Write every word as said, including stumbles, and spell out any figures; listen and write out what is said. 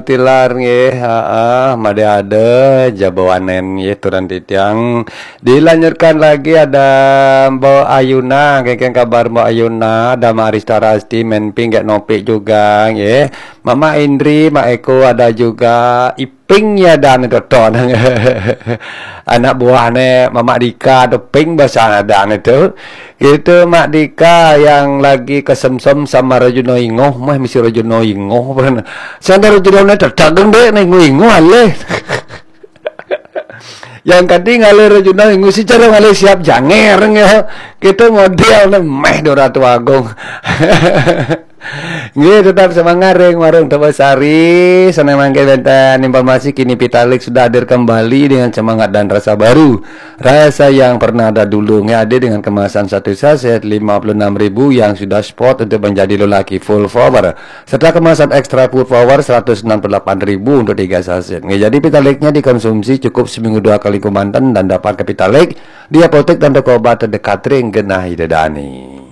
Tilar nggih, heeh, made ada jabawanen nggih turun titiang. Dilanjutkan lagi ada Mbok Ayuna, kengkeng kabar Mbok Ayuna, ada Mak Arista Rasti, Menping, Gek Nopik juga nggih. Mama Indri, Mak Eko ada juga, Iping ya dan itu ton. Anak buahnya Mama Dika, ada Ping bahasa dan itu. Gitu, Mak Dika yang lagi kesemsem sama Rajuno Ingoh, mah misi Rajuno Ingoh. Sanda Rajuno ne tetageng deh, ne Ingoh Ingoh aleh. Yang kadang ngalih Rajuno Ingoh si cara ngalih siap janger ya. Gitu model ne meh do Ratu Agung. Nggih, tetap semangat ring Warung Tebesari. Senang mangke benten informasi kini Pitalik sudah hadir kembali dengan semangat dan rasa baru. Rasa yang pernah ada dulu nggih, ada dengan kemasan satu saset lima puluh enam ribu yang sudah spot untuk menjadi lelaki full power, serta kemasan extra full power seratus enam puluh delapan ribu untuk tiga saset nggih. Jadi Pitaliknya dikonsumsi cukup seminggu dua kali kemanten dan dapat ke Pitalik di apotek dan toko obat terdekat ring genah Ida Dani.